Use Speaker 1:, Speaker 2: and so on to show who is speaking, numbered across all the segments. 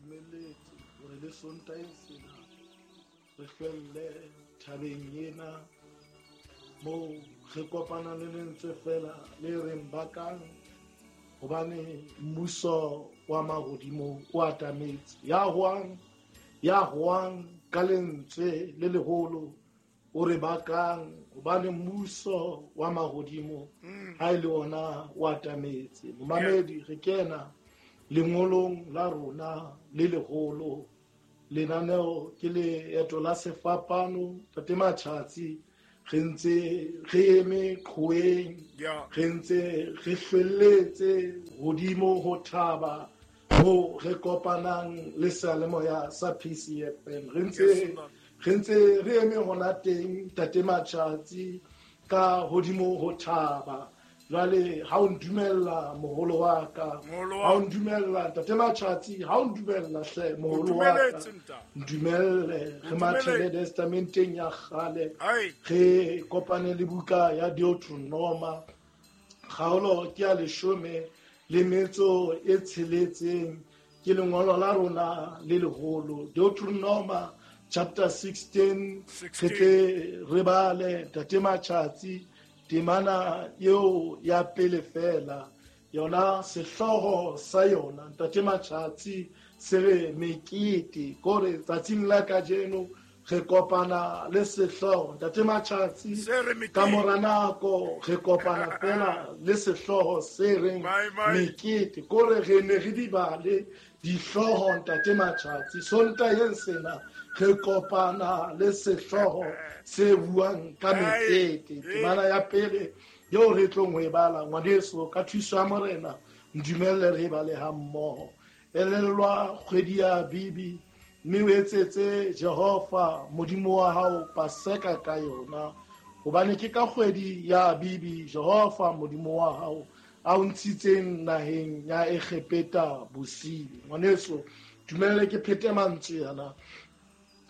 Speaker 1: dumelletse hore le Sontaheng sena re hlwelle thabeng ena moo re kopana le lentswe fela le reng bakang, hobane mmuso wa mahodimo o atametse. Ya hoang ka lentswe le leholo o re bakang, hobane mmuso wa mahodimo ha e le ona o atametse. Momamedi, re kena lengolong la rona le leholo. Lenaneo ke leeto la sefapano. Tate Matjhatsi, re ntse re eme qhoweng, re ntse re hlwelletse hodimo ho thaba mo re kopanang le seyalemoya sa PCFM. Re ntse re eme hona teng, Tate Matjhatsi, ka hodimo ho thaba. Jwale ha o ndumella moholo wa ka, ha o ndumella Tate Matjhatsi, ha o ndumella hle moholo wa ka, ndumelle re mathele testamenteng ya kgale, re kopane le buka ya Deuteronoma, kgaolo ke ya 16, ke lengolo la rona le leholo. Deuteronoma chapter 16, re tle re bale Tate Matjhatsi temana eo ya pele fela, yona sehlooho sa yona Ntate Matjhatsi se re mekete, kore tsatsing la kajeno re kopana le sehlooho Ntate Matjhatsi, ka mora nako re kopana fela le sehlooho se reng mekete, kore re ne re di bale dihlooho Ntate Matjhatsi. Sontaheng sena re kopana le sehlooho se buang ka mekete. Temana ya pele eo re tlong ho e bala, ngwaneso, ka thuso ya Morena ndumelle re e bale ha mmoho. Elellwa kgwedi ya Abibi, mme o etsetse Jehova Modimo wa hao Paseka ka yona, hobane ke ka kgwedi ya Abibi Jehova Modimo wa hao a o ntshitseng naheng ya Egepeta bosiu. Ngwaneso, dumelle ke phete mantswe ana.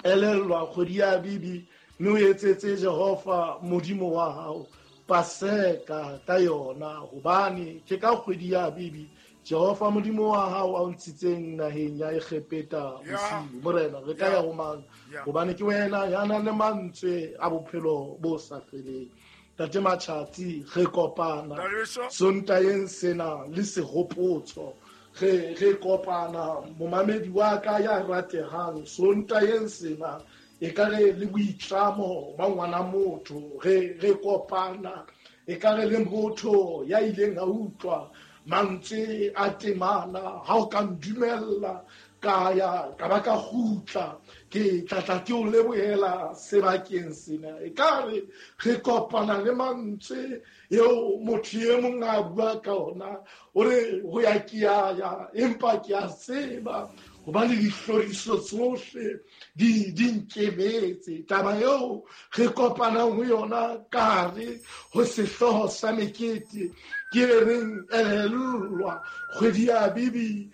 Speaker 1: Elellwa kgwedi ya Abibi, mme o etsetse Jehova Modimo wa hao Paseka ka yona, hobane ke ka kgwedi ya Abibi Jehova Modimo wa hao a o ntshitseng naheng ya Egepeta bosiu. Morena, re ka ya ho mang? Hobane ke wena ya nang le mantswe a bophelo bo sa feleng. Tate Matjhatsi, re kopana Sontaheng sena le sehopotso. Re kopana momamedi wa ka ya ratehang Sontaheng sena, e ka re le boitlamo ba ngwana motho. Re kopana e ka re le motho ya ileng a utlwa mantswe a temana. Ha o ka ndumella ka ya ka ba ka kgutla, ke tla ke o lebohela sebakeng sena. E ka re re kopana le mantswe eo motho e mong a bua ka ona, o re ho ya ke ya ya, empa ke a tseba hobane dihloriso tsohle di nkemetse. Taba eo re kopanang ho yona ka hare ho sehlooho sa mekete ke e reng elellwa kgwedi ya Abibi,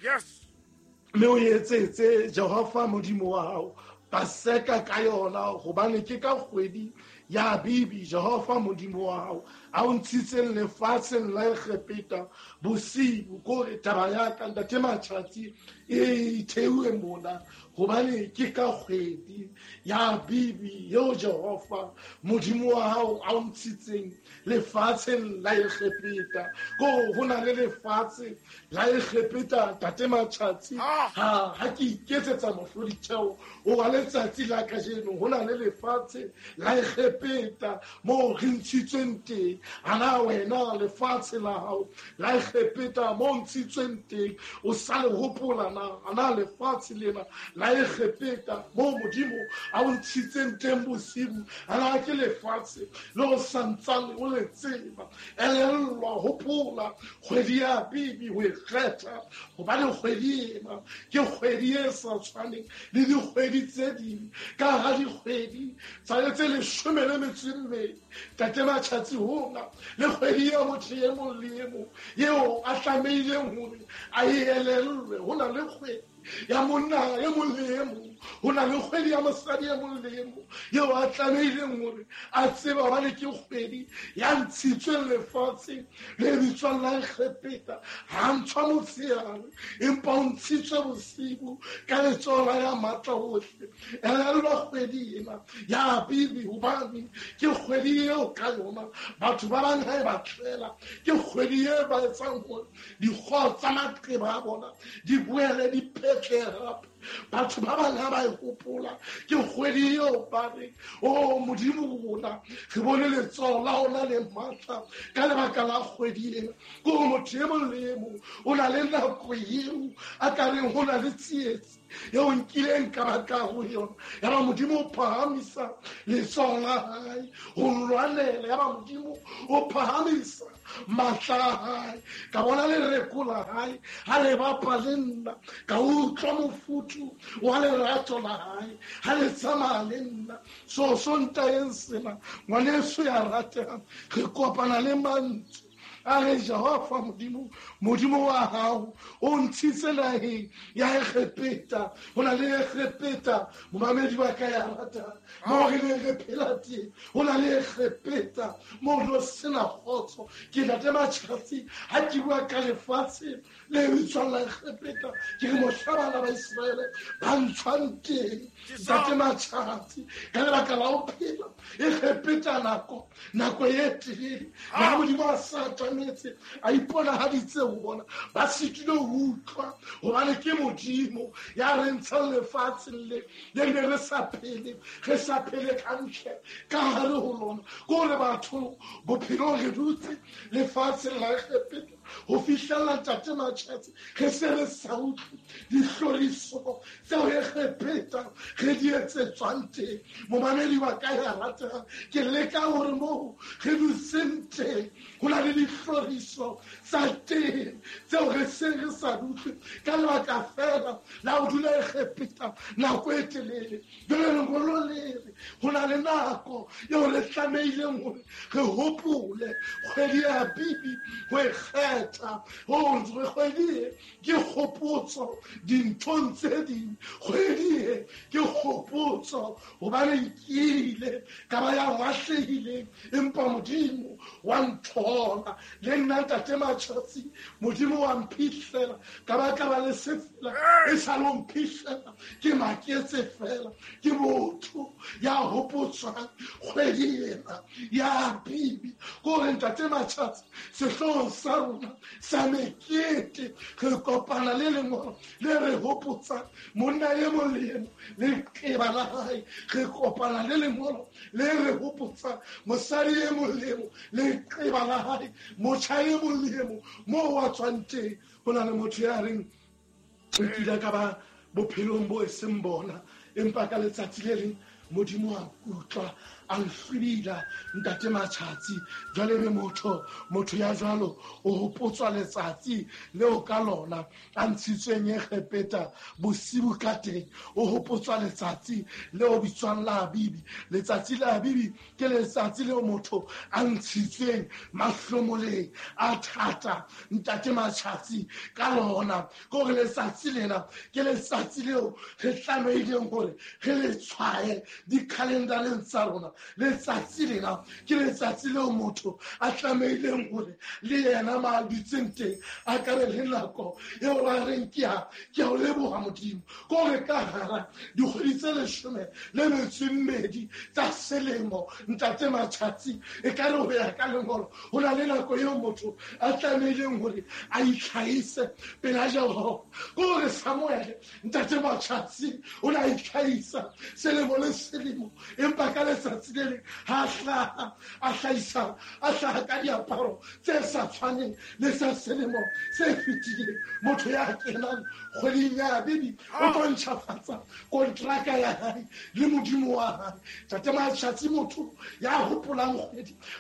Speaker 1: mme o etsetse Jehova Modimo wa hao Paseka ka yona, hobane ke ka kgwedi ya Abibi Jehova Modimo wa hao a o ntshitseng lefatsheng la Egepeta bosiu. Kore taba ya ka Ntate Matjhatsi e thewe mona, hobane ke ka kgwedi ya Abibi eo Jehova Modimo wa hao a o ntshitseng lefatsheng la Egepeta. Ko ho na le lefatshe la Egepeta Ntate Matjhatsi, ha ke iketsetsa mohloditheo o wa letsatsi la kajeno, ho na le lefatshe la Egepeta moo re ntshitsweng teng. Ana wena lefatshe la hao la Egepeta moo ntshitsweng teng o sa le hopola na? Ana lefatshe lena la Egepeta moo Modimo a o ntshitseng teng bosiu, ana ke lefatshe le o santsane o le tseba? Elellwa, hopola kgwedi ya Abibi ho e kgetha, hobane kgwedi ena ke kgwedi e sa tshwaneng le dikgwedi tse ding, ka ha dikgwedi tsa tse 12, Tate Matjhatsi, hona le kgwedi ya motho e mong le e mong eo a tlamehileng hore a e elellwe. Ho na le kgwedi ya monna e mong le e mong, ho na le kgwedi ya mosadi e mong le e mong eo a tlamehileng hore a tsebe hobane ke kgwedi ya ntshitsweng lefatsheng le bitswang la Egepeta. Ha ntshwa motshehare, empa o ntshitswe bosibu ka letsoho la ya matla ohle. Elellwa kgwedi ena ya Abibi, hobane ke kgwedi eo ka yona batho ba bang ha e ba tlela, ke kgwedi e ba etsang hore dikgoho tsa maqeba a bona di boele di phetlehe hape. Batho ba bang ha ba e hopola ke kgwedi eo ba re, o Modimo rona, re bone letsoho la ona le matla ka lebaka la kgwedi ena. Ke hore motho e mong le e mong o na le nako eo a ka reng ho na le tsietsi eo nkileng ka ba ka ho yona. Ya ba Modimo o phahamisa letsoho la hae ho nlwanela, ya ba Modimo o phahamisa matla a hae. Ka bona lereko la hae ha le bapa le nna, ka utlwa mofuthu wa lerato la hae ha le tsamaya le nna. So Sontaeng sena, ngwaneso ya ratehang, re kopana le mantswe a re, Jehova Modimo, Modimo wa hao o ntshitse naheng ya Egepeta. Ho na le Egepeta, momamedi wa ka ya ratang, moo re neng re phela teng. Ho na le Egepeta moo re sena kgotso. Ke ntate Matjhatsi ha ke bua ka lefatshe le bitswang la Egepeta, ke re mohla bana ba Iseraele ba ntshwang teng, ntate Matjhatsi, ka lebaka la ho phela Egepeta nako e telele, na Modimo a sa atametse, a iponahaditse ho bona, ba sitile ho utlwa hobane ke Modimo ya re ntshang lefatsheng le le ne re sa phele, re sa phele hantle ka hare ho lona. Ke hore batho bophelong re dutse lefatsheng la Egepeta ho fihlella ntate Matjhatsi, re se re sa utlwe dihloriso tseo Egepeta re di etsetswang teng. Momamedi wa ka ya ratehang, ke leka hore moo re dutseng teng ho na le dihloriso tsa teng tseo re seng re sa utlwe ka lebaka fela la ho dula Egepeta nako e telele. Jwale lengolo le re ho na le nako eo re tlamehileng hore re hopole kgwedi ya Abibi ho e kgetha, hore kgwedi e ke kgopotso dinthong tse ding. Kgwedi e ke kgopotso hobane nkile ka ba ya lahlehileng, empa Modimo wa nthola. Le nna ntate Matjhatsi, Modimo wa mphihlela ka ba ka ba le sefela, e sa le ho mphihlela, ke maketse fela. Ke motho ya hopotswang kgwedi ena ya Abibi. Ke hore ntate Matjhatsi, sehloohong sa rona sa mekete re kopana le lengolo le re hopotsang monna e mong le e mong leqeba la hae. Re kopana le lengolo le re hopotsang mosadi e mong le e mong leqeba la hae, motjha e mong le e mong moo wa tswang teng. Ho na le motho ya reng nkile ka ba bophelong bo e seng bona, empa ka letsatsi le leng Modimo a nkutlwa, a nhlwibila ntate Matjhatsi. Jwale be motho ya jwalo o hopotswa letsatsi leo ka lona a ntshitsweng Egepeta bosibu ka teng. O hopotswa letsatsi leo bitswang la Abibi. Letsatsi la Abibi ke letsatsi leo motho a ntshitsweng mahlomoleng a thata ntate Matjhatsi ka lona. Ke hore letsatsi lena ke letsatsi leo re tlamehileng hore re le tshwaye dikhalendareng tsa rona. Letsatsi lena ke letsatsi leo motho a tlamehileng hore le yena ma a dutseng teng a ka be le nako eo ba reng ke a o leboha Modimo. Ke hore ka hara dikgwedi tse 12 tsa selemo ntate Matjhatsi, e ka re ho ya ka lengolo ho na le nako eo motho a tlamehileng hore a itlhahise pela Jehova. Ke hore Samuele ntate Matjhatsi o ne a itlhahisa selemo le selemo, empa ka letsatsi le leng ha a hlaha, a hlahisa, a hlaha ka diaparo tse sa tshwaneng le tsa selemo se fetileng. Motho ya kenang kgweding ya Abibi o tlo ntjhafatsa kontraka ya hae le Modimo wa hae. Ntate Matjhatsi, motho ya hopolang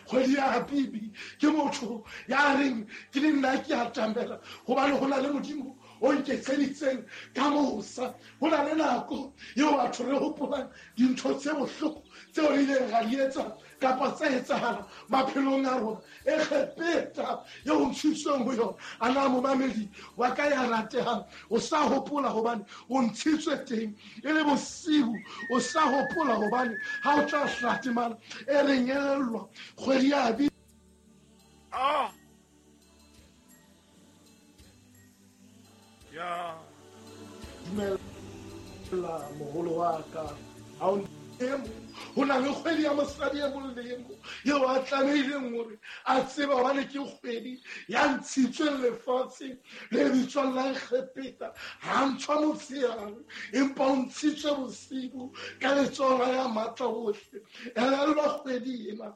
Speaker 1: kgwedi ya Abibi ke motho ya reng ke le nna ke atamela, hobane ho na le Modimo o nketseditseng ka mosa. Ho na le nako eo batho re hopolang dintho tse bohloko tseo re ileng ra di etsa kapa tsa etsahala maphelong a rona. Egepeta eo ntshitsweng ho yona, a na momamedi wa ka ya ratehang, o sa hopola hobane o ntshitswe teng e le bosiu, o sa hopola hobane ha o tla hlatemana e reng elellwa kgwedi ya bi.
Speaker 2: Ya
Speaker 1: dumela moholo wa ka, ha o ho na le kgwedi ya mosadi e mong le e mong eo a tlamehileng hore a tsebe hobane ke kgwedi ya ntshitsweng lefatsheng le bitswang la Egepeta. Ha ntshwa motshehare, empa o ntshitswe bosiu ka letsoho la ya matla ohle. Elellwa kgwedi ena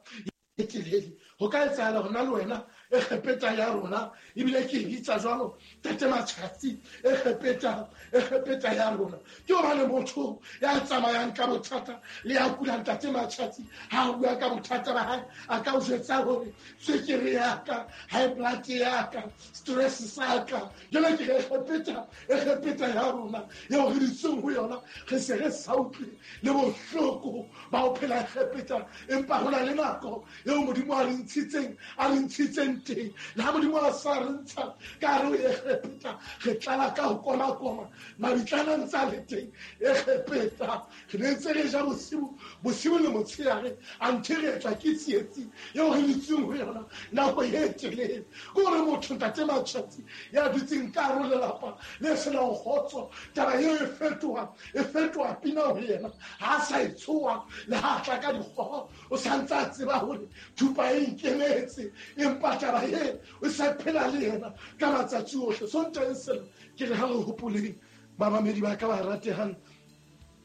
Speaker 1: e telele, ho ka etsahala hona le wena Egepeta ya rona, ebile ke e bitsa jwalo Tate Matjhatsi, Egepeta, Egepeta ya rona. Ke hobane motho ya tsamayang ka bothata le ya kulang Tate Matjhatsi, ha a bua ka bothata ba hae, a ka o jwetsa hore tswekere ya ka, high blood ya ka, stress sa ka. Jwale ke re Egepeta, Egepeta ya rona eo re dutseng ho yona, re se re sa utlwe le bohloko ba ho phela Egepeta, empa ho na le nako eo Modimo a re ntshitseng, a re ntshitseng teng. Le ha Modimo a sa re ntsha ka hare ho Egepeta, re tlala ka ho koma-koma, mabitlana a ntse a le teng Egepeta. Re ne ntse re ja bosiu, bosiu le motshehare, anthe re etswa ke tsietsi eo re dutseng ho yona nako e telele. Ke hore motho Ntate Matjhatsi ya dutseng ka hare ho lelapa le senang kgotso, taba eo e fetoha, e fetoha pina ho yena. Ha a sa e tshoha, le ha a tla ka dikgoho, o sa ntse a tseba hore thupa e nkemetse, empa taba e o sa phela le yena ka matsatsi ohle. Sontaheng sena ke re ha re hopoleng bamamedi ba ka ba ratehang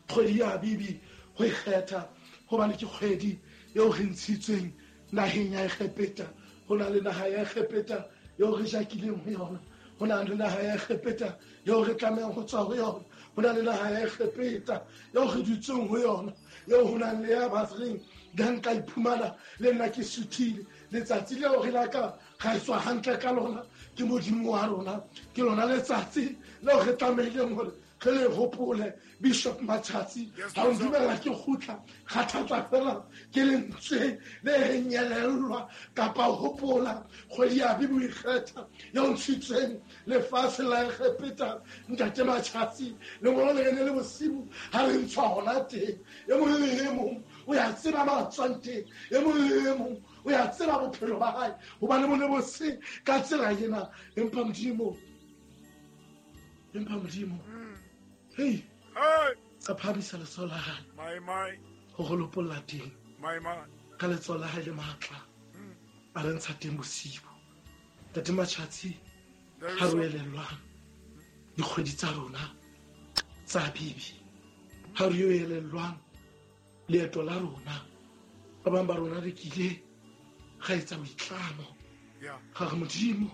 Speaker 1: kgwedi ya Bibi ho ikgetha, hobane ke kgwedi eo re ntshitsweng naheng ya Egepeta. Ho na le naha ya Egepeta eo re jakileng ho yona, ho na le naha ya Egepeta eo re tlamehang ho tswa ho yona, ho na le naha ya Egepeta eo re dutseng ho yona, eo ho nang le ya ba reng le ha nka iphumana le nna ke suthile. Letsatsi leo re la ka ra tswa hantle ka lona ke Modimo wa rona, ke lona letsatsi leo re tlamehileng hore re le hopole. Bishop Matjhatsi, ha o ndumella ke kgutla, kgathatswa fela ke lentswe le reng elellwa kapa hopola kgwedi ya Bibi o ikgetha eo ntshitsweng lefatshe la Egepeta. Ntate Matjhatsi, lengolo le rene le bosiu ha re ntshwa hona teng. E mong le e mong o ya tseba ba tswang teng, e mong le e mong o ya tseba bophelo ba hae, hobane bo ne bo se ka tsela ena. Empa Modimo, empa Modimo, hei, a phahamisa letsoho la hae ho re lopolla teng ka letsoho la hae le matla, a re ntsha teng bosiu. Ntate Matjhatsi, ha re elellwang dikgwedi tsa rona tsa Bibi, ha re elellwang leeto la rona, ba bang ba rona re kile ra etsa boitlamo, ra re Modimo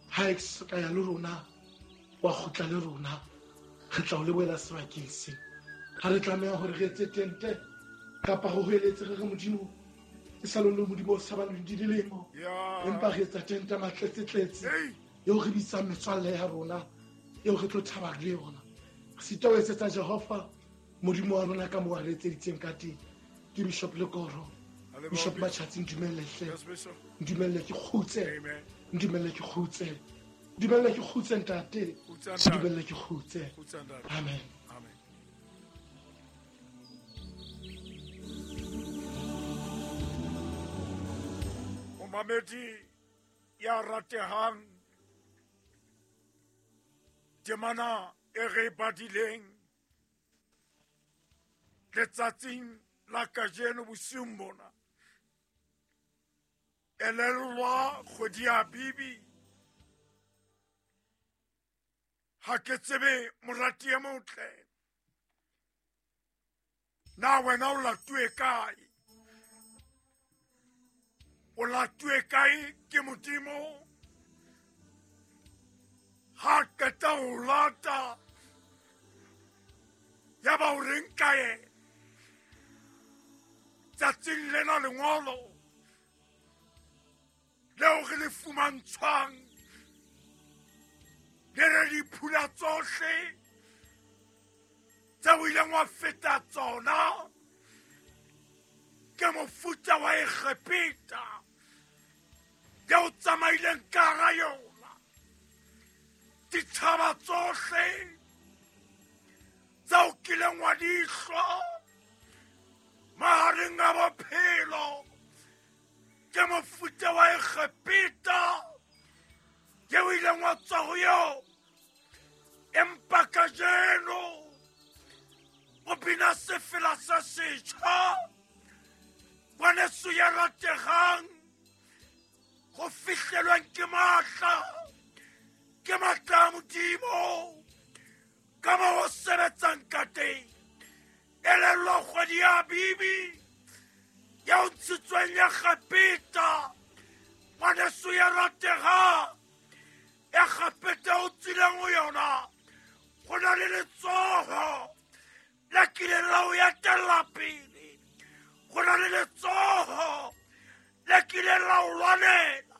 Speaker 1: ha e ka ya le rona, wa kgutla le rona, re tla o lebohela sebakeng se. Ha re tlameha hore re etse tente kapa ho hoeletse re re Modimo e sa le Modimo o sa ba le dilemo, empa re etsa tente matletsetletse eo re bitsang metswalle ya rona, eo re tlo thaba le yona. Re sita ho etsetsa Jehova Modimo wa rona ka moo a re etseditseng ka teng. Ke Bishop Lekoro, Bishop Matjhatsi, ntumelle hle, ntumelle ke kgutse, ntumelle ke kgutse, ntumelle ke kgutse ntate, ntumelle ke kgutse. Amen.
Speaker 2: Momamedi ya ratehang, temana e re badileng letsatsing la kajeno bosiung bona, elellwa kgwedi ya Bibi. Ha ke tsebe morati e motle, na wena o latuwe kae? O latuwe kae ke Modimo? Ha qeta ho lata, ya ba o reng ka yena? Tsatsing lena lengolo leo re le fumantshwang, le re tsohle tse o ileng wa feta tsona ke mofuta wa Egepeta ya o tsamaileng ka hara yona. Ditjhaba tsohle tse o kileng wa di hlwa mahareng a bophelo ke mofuta wa Egepeta ye o ileng wa tswa ho yona. Empa kajeno o bina sefela sa setjha, ngwaneso ya rategang, go fihlelwang ke matla, ke matla a Modimo ka mo ho sebetsang ka teng. Elellwa kgwedi ya Bibi ya o ntshitsweng Egepeta, ngwaneso ya rategang, Egepeta o tswileng ho yona, go na le letsoho le kileng la o etella pele, go na le letsoho le kileng la o lwanela,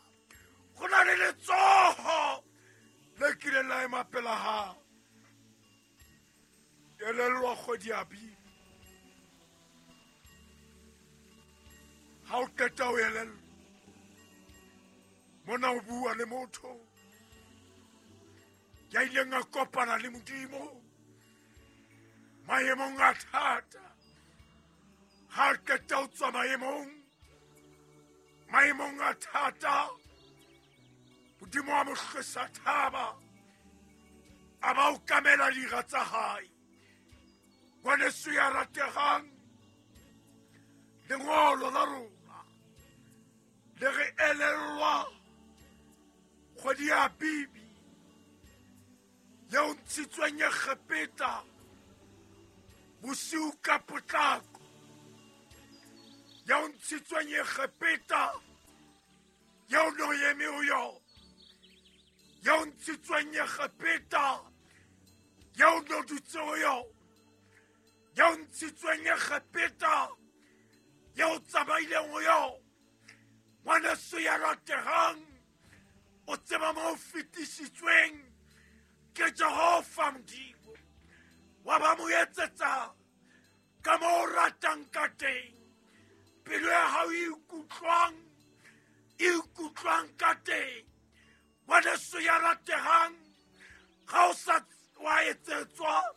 Speaker 2: go na le letsoho le kileng la ema pela hao. Elellwa kgwedi ya Bibi. Ha o qeta ho elellwa, mona o bua le motho ya ileng a kopana le Modimo maemong a thata. Ha qeta ho tswa maemong a thata, Modimo a mo hlwesa thaba, a ba o kamela dira tsa hae. Ngwaneso ya rategang, lengolo la rona le re elellwa kgwedi ya Bibi yeo ntshitsweng Egepeta bosiu ka potlako, yeo ntshitsweng Egepeta yeo no eme ho yona, yeo ntshitsweng Egepeta yeo no dutse ho yona, yeo ntshitsweng Egepeta yeo tsamaileng ho yona. Ngwaneso ya rategang, o tseba mo o fetisitsweng ke Jehova Modimo, wa ba mo etsetsa ka mo o ratang ka teng. Pelo ya hao e ikutlwang ka teng. Ngwaneso ya rategang, ga o sa wa etsetswa,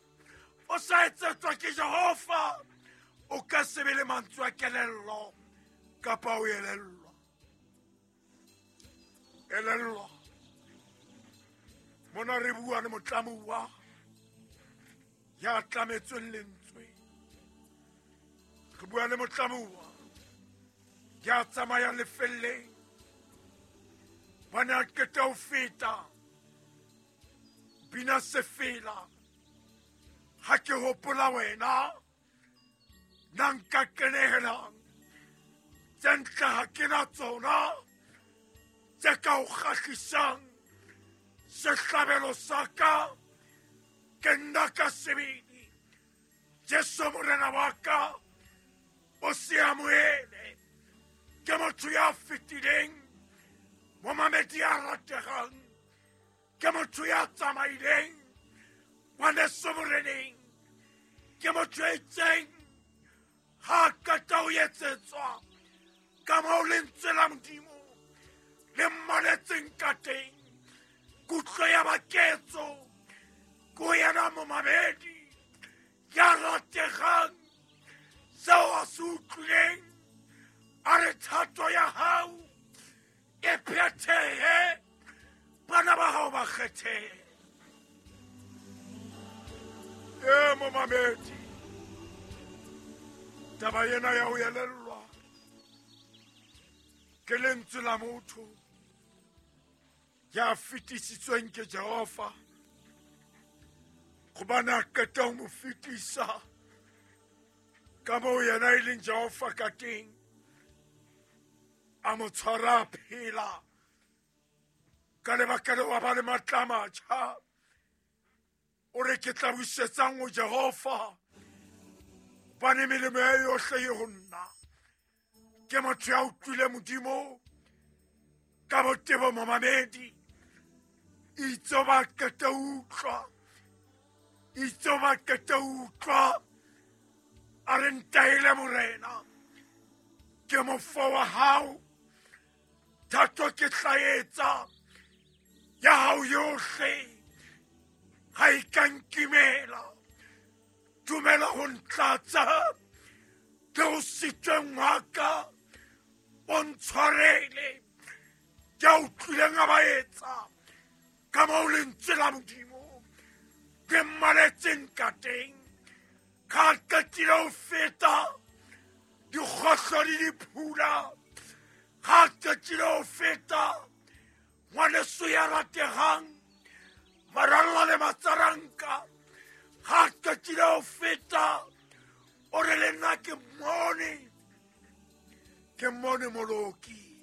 Speaker 2: o sa etsetswa ke Jehova, o ka se be le mantswe a kelello kapa o elellwa. Elellwa. Mona re bua le motlamuwa ya tlametsweng lentswe. Re bua le motlamuwa ya tsamayang lefelleng, bana qeta ho feta bina sefela. Ha ke hopola wena, nna nka kenehelang tse ntle ha ke na tsona tse ka o kgahlisang. Sehlabelo sa ka ke nna ka sebele, Jesu Morena wa ka o se amohele. Ke motho ya fetileng, momamedi ya rategang, ke motho ya tsamaileng ngwaneso moreneng, ke motho ya itseng ha qeta ho etsetswa ka moo lentswe la Modimo le mmaletseng ka teng. Kutlo ya baketso ko yena momamedi ya rategang, seo a se utlwileng, a re thato ya hao e phethehe, bana ba hao ba kgethehe. E momamedi, taba ena ya ho elellwa ke lentswe la motho ya fetisitsweng ke Jehova, gobane a qeta ho mo fetisa ka moo yena e leng Jehova ka teng, a mo tshwara a phela. Ka lebaka leo a ba le matla a matjha. O re ke tla busetsang ho Jehova, hobane melemo ya yohle e ho nna. Ke motho ya utlwile Modimo ka botebo momamedi, itse ba qeta utlwa Itse ba qete utlwa a re ntaele morena ke mofo wa hao thato ke tla etsa ya hao yohle ga e ka nkimela dumela go ntlatsa ke go sitsweng wa ka o ntshwarele ke a utlwileng a ba etsa ka moo lentswe la modimo ke mmaletseng ka teng ga qetile ho feta dikgohlo le diphula ga qetile ho feta ngwaneso ya rategang maralla le matsaranka ga qetile ho feta o re le nna ke mmone ke mmone moloki.